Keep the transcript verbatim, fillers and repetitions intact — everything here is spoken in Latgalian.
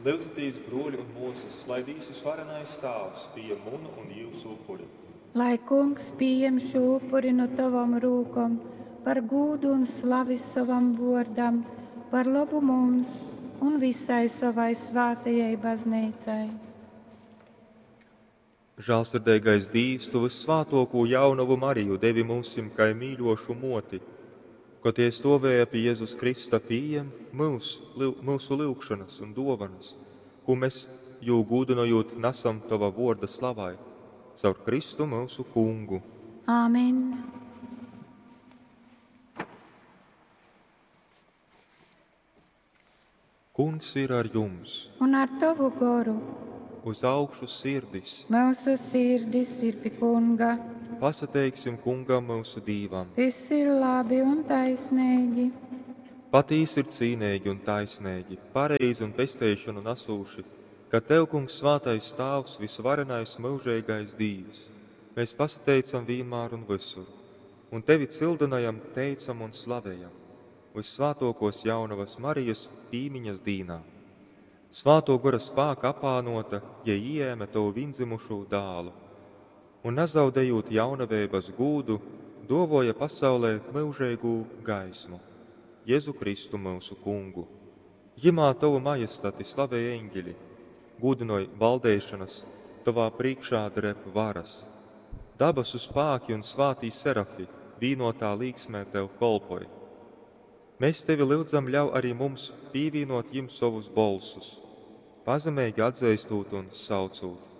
Lyudzitīs, bruoļi un muosys, lai dīsu Svarenais Tāvs pījem munu un jiusu upuri. Lai Kungs pījem šū upuri nu tovom rūkom par gūdu un slavi sovam vōrdam, par lobu mums un vysai sovai svātajai Bazneicai. Žālsirdeigais Dīvs, tu vyssvātuokū jaunovu Mariju devi myusim kai mīļuošu muoti, kod jei stuovēja pi Jezus krysta, pījem myus, myusu lyugšonys un duovonys, kū mes, jū gūdynojūt, nasam tova vuorda slavai, caur Kristu myusu Kungu. Āmen. Kungs ir ar jums! Un ar tovu goru. Uz augšu sirdis! Myusu sirdis ir pi Kunga. Pasateiksim Kungam, myusu Dīvam! Tys ir labi un taisneigi. Patīsi ir cīneigi un taisneigi, pareizi un pesteišonu nasūši, ka tev, Kungs, svātais Tāvs, vysvarenais myužeigais Dīvs, mēs pasateicam vīnmār un vysur, un tevi cyldynojam, teicam un slavejam vyssvātōkōs jaunovas Marijas pīmiņas dīnā. Svātō Gora spāka apānōta, jei ijēme tovu vīndzymušū Dālu un, nazaudejūt jaunaveibas gūdu, dōvōja pasaulei myužeigū Gaismu, Jezu Kristu, myusu Kungu. Jymā tovu majestati slavej eņgeļi, gūdynoj valdeišonas, tovā prīškā dreb varas. Dabasu spāki un svātī serafi vīnōtā līksmē tev kolpoj. Mes tevi lyudzam ļau ari mums pīvīnōt jim sovus bolsus, pazemeigi atzeistūt un saucūt.